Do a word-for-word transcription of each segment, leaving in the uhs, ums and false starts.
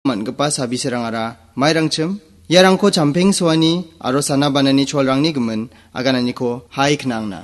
man·gipa sabiserangara mairangchim, iarangko champeng soani aro sana banani cholrangni gimin agananiko hai knangna.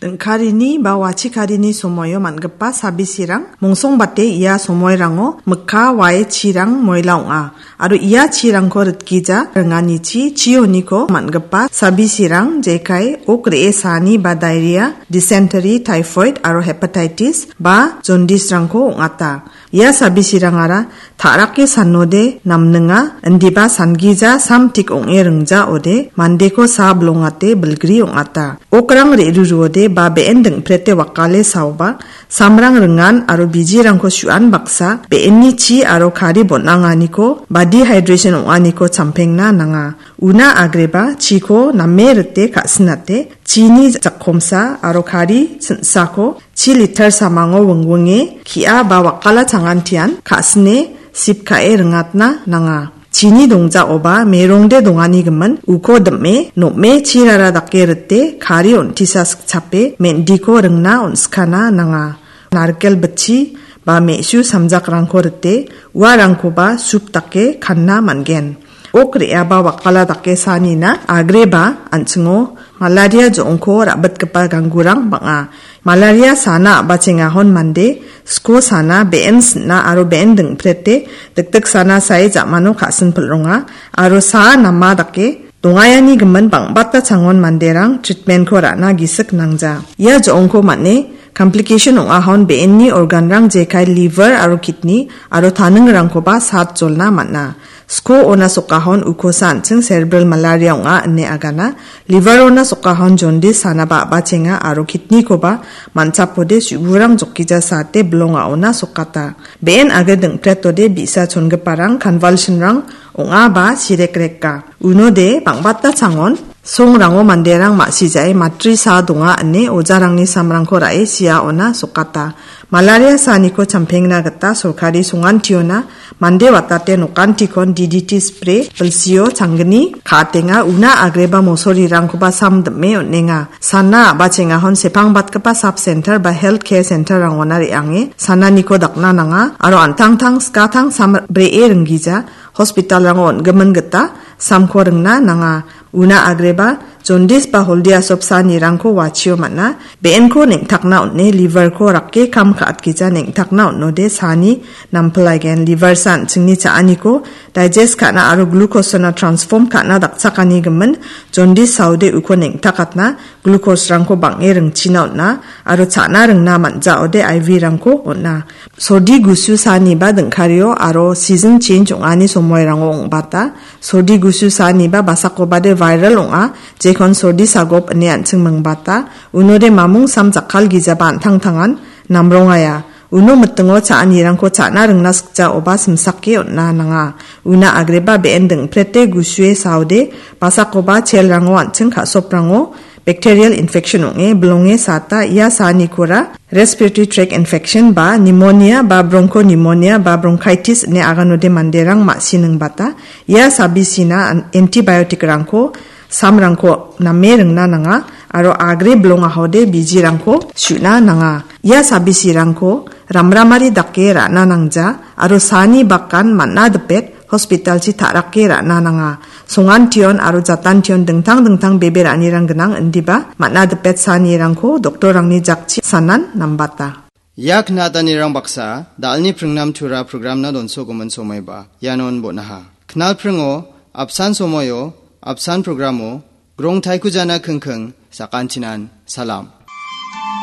Dingkarini ba wachikarini somoio man·gipa sabisirang mongsongbate ia somoirango mikka wae chirang moila ong·a. Aro ia chirangko ritgija ringanichi chioniko man·gipa sabisirang jekai ok re·e saani ba diarrhea, dysentery, typhoid aro hepatitis ba jaundice-rangko ong·ata. Ia sabisirangara ta·rake sanode namninga, indiba sangija samtik ong·e ringjaode mandeko sa bilongate bilgri ong·ata. Okrang re·ruruode ba be·en dingprete wakale saoba, samrang ringan aro bijirangko su·an baksa, be·enni chi aro kari bon·anganiko ba dehydration ong·aniko champengna nanga. Una agreba chiko name rite ka·sinate, chini jakkomsa aro kari sinsako chi liter samango wingwinge ki·a ba wakala changantian ka·sine sip ka·e ringatna nanga. Chini dongjaoba merongde dongani gimin uko dim·e, nom·e chirara dake rite, kari on·tisa sikchape, mendiko ringna on·skana nanga. Narikel bitchi ba me·su samjakrangko rite, uarangkoba sup dake kanna man·gen. Ok re·aba wakala dake sanina agreba an·chingo malaria jo·ongko ra·bitgipa ganggurang bang·a. Malaria sana a·bachengahon mande, sko sana, be·en sin·a aro be·en dingprete, dikdik sana sae ja·mano ka·sinpilronga, aro sa nama dake dongayani gimin bang·bata changon manderang treatment-ko ra·na gisik nangja. Ia jo·ongko man·e complication ong·ahon be·enni organrang jekai liver aro kidney aro taningrangkoba sat jolna man·a. Sko ona sokahon ukosa an·ching cerebral malaria ong·a ine agana. Liver ona sokahon jaundice sanaba a·bachenga aro kidney-koba man·chapode su·burang jokija sate bilonga ona sokata. Be·en age dingpretode bi·sa chongiparang convulsion-rang ong·a ba sirekreka. Unode bang·bata changon songrango manderang ma·sijae matri sa donga ine ojarangni samrangko ra·e sia ona sokata. Malaria saniko champengna gita sorkari songantiona mande watate nokantikon D D T spray, bilsio changgni ka·atenga, una agreba mosorirangkoba sam dim·e on·enga. Sana a·bachengahon sepangbatgipa sub center ba health care center-rangona re·ange sananiko dakna nanga aro an·tangtang skatang sam bree ringgija hospital-rango on·gimin gita samko ringna nanga. Una agreba jaundice ba holdia sop sanirangko wachio man·a. Be·enko neng·takna on·e liver-ko rake kam ka·atgija neng·takna on·ode sani nampilaigen. Liver sa an·chingni cha·aniko digest ka·na aro glucose-ona transform ka·na dakchakani gimin jaundice saode uko neng·takatna glucose-rangko bang·e ringchina on·a aro cha·na ringna man·jaode I V-rangko on·a. Sordi gusu saniba dingkario aro season change ong·ani somoirango ong·bata. Sordi gusu saniba basakobade viral ong·a, jekon sordi sagop ine an·ching mingbata. Unode mamung sam jakkalgijaba an·tangtangan namrongaia. Uno mitingo cha·anirangko cha·na ringna sikjaoba simsake on·na nanga. Una agreba be·en dingprete gusue saode basakoba cell-rango an·ching ka·soprango bacterial infection ong·e bilonge sata ia sanikora respiratory tract infection ba pneumonia ba bronchopneumonia ba bronchitis ine aganode manderang ma·siningbata. Ia sabisina an-, antibiotic-rangko, samrangko name ringna nanga aro agre bilongahode bijirangko su·na nanga. Ia sabisirangko ramramari dake ra·na nangja aro sani bakan man·a dipet hospital-chi ta·rake ra·na nanga. Songantion aro jatantion dingtang dingtang bebe ra·anirang gnang indiba man·a dipet sanirangko doktorrangni jakchi sanan nambata. Ia knatanirang baksa, da·alni pringnam tura programna donsogimin somaiba, ianon bon·aha. Knal pringo, apsan somoio, apsan programo, grong taikujana kingking, sakantinan, salam.